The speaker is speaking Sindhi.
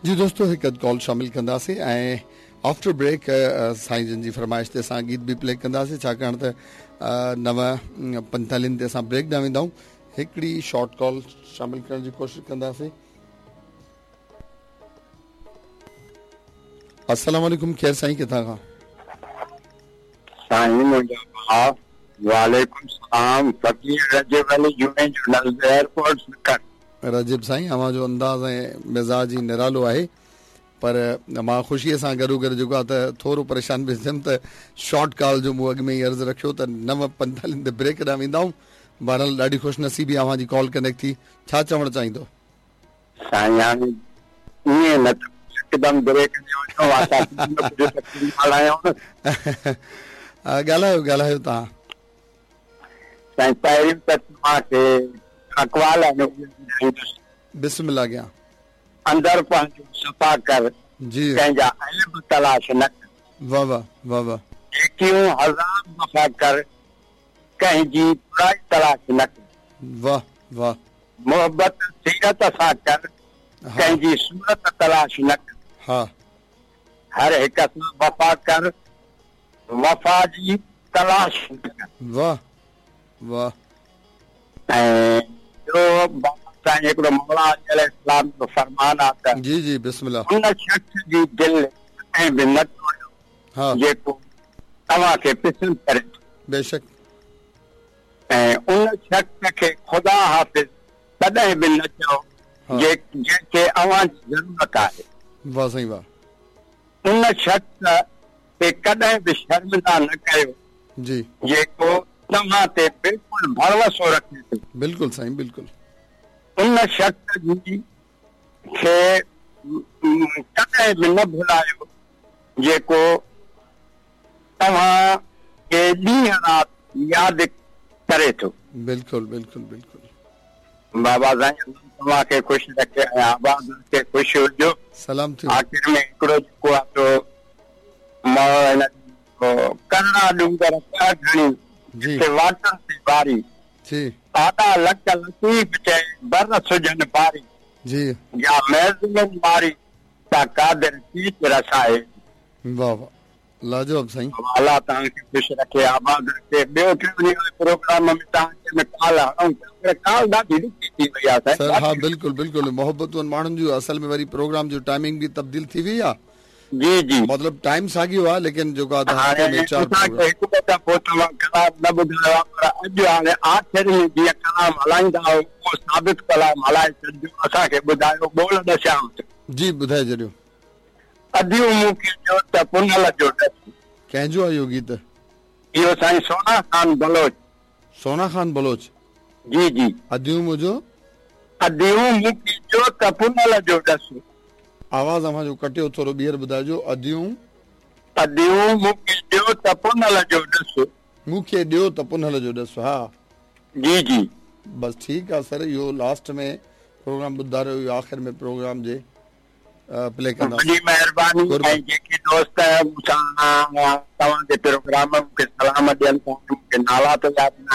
جي دوستو هڪ اڌ ڪال شامل ڪنداسين ۽ آفٽر بريڪ سائين جن جي فرمائش تي اسان گيت به پلي ڪنداسين ڇاڪاڻ ته 9:45 تي اسان بريڪ ڏانهن ويندا آهيون هڪڙي شارٽ ڪال شامل ڪرڻ جي ڪوشش ڪنداسين. السلام عليڪم ڪير سائين ڪٿان کان. سائين منهنجا ڀاء. وعليڪم السلام فقير رجب علي جوڻيجو نزد ايئرپورٽ سکر. رجب سائين اوهان جو انداز ۽ مزاج ئي نرالو آهي پر مان خوشيء سان گڏو گڏ جيڪو آهي ته ٿورو پريشان به ٿيم ته شارٽ ڪال جو مون اڳ ۾ ئي عرض رکيو ته 9:45 تي بريڪ ڏانهن ويندا آهيون بهرحال ڏاڍي خوش نصيبي اوهان جي ڪال ڪنيڪٽ ٿي ڇا چوڻ چاهيندو. سائين هاڻي ائين نه ته هڪدم بريڪ ڏي وڃو اسان ڪجهه نه ڪجهه ته ڳالهايون نه. ڳالهايو ڳالهايو توهان. سائين پهريون ته توهان کي اقوال آهن اهي ٻڌائيندس. بسم الله ڪيان. اندر پنهنجو صفا ڪر جي. ڪنهن جا عيب تلاش نه ڪر. واه واه واه واه. نيڪيون هزار دفعا ڪر ڪنهن جي برائي تلاش نه ڪر. واه واه. محبت سيرت سان ڪر ڪنهن جي صورت تلاش نه ڪر. ها. هر هڪ سان وفا ڪر وفا جي تلاش نه ڪر. واه واه. ۽ ٻيو بابا سائين هڪڙو مولا علي عليه السلام جو فرمان آ ته. جي جي بسم الله. ان شخص جي دل ڪڏهن به نه ٽوڙيو جيڪو توهان کي پسند ڪري ٿو. بيشڪ. ۽ ان شخص کي خدا حافظ ڪڏهن به نه چئو جنهن کي اوهان جي ضرورت آهي. واه سائين واه. ان شخص کي ڪڏهن به شرمنده نه ڪيو جي. جيڪو توهان تي بلڪل ڀروسو رکي ٿو. بلڪل سائين بلڪل. ان شخص جي کي ڪڏهن به نه ڀلايو جيڪو توهان کي ڏينهن رات ياد ڪري ٿو. بلڪل بلڪل بلڪل. بابا سائين الله توهان کي خوش رکي ۽ آباد رکي خوش هجو. سلام ٿيو. آخر ۾ هڪڙو جيڪو آ سو هن ڪرڙا ڏونگر ڪهه گهڻي جي. جتي واٽن تي واري. جي. آڏا لڪ لطيف چئي بر سجهن باري. جي. جا محزونن ماري سا قادر ڪيچ رسائي. واه واه لاجواب سائين. الله توهان کي خوش رکي آباد رکي ٻيو ٽيون ڏينهن واري پروگرام ۾ توهان کي ۾ ڪال هڻون پيا پر ڪال ڏاڍي ڏکي ٿي وئي آ سائين سر ها بلڪل بلڪل محبتون ماڻهن جون اصل ۾ وري پروگرام جو ٽائمنگ به تبديل ٿي وئي آ جي جي مطلب ٽائيم ساڳيو آ ليڪن جيڪو آ ته هفتي ۾ چار پروگرام هاڻي اسان کي هڪ ٻه دفعو توهان ڪلام نه ٻڌايو آ پر اڄ هاڻي آخر ۾ جيئن ڪلام هلائيندا آهيو اهو ثابت ڪلام هلائي ڇڏجو اسان کي ٻڌايو ٻول ڏسيانو ٿو. جي ٻڌائي ڇڏيو. اديون مون کي ڏيو ته پنهل جو ڏس. ڪنهن جو آهي اهو گيت؟ اهو سائين سونا خان بلوچ. سونا خان بلوچ. جي جي. اديون منهنجو. اديون مون کي ڏيو ته پنهل جو ڏس. آواز اوهان جو ڪٽيو ٿورو ٻيهر ٻڌائجو اديون. اديون مون کي ڏيو ته پنهل جو ڏس. مون کي ڏيو ته پنهل جو ڏس ها. جي جي. بس ٺيڪ آ سر اهو لاسٽ ۾ پروگرام ٻڌاريو اهو آخر ۾ پروگرام جي پلي ڪنداسين. وڏي مهرباني ۽ جيڪي دوست مون سان توهان جي پروگرام ۾ مون کي سلام ڏين ٿا مون کي نالا ته ياد ناهن.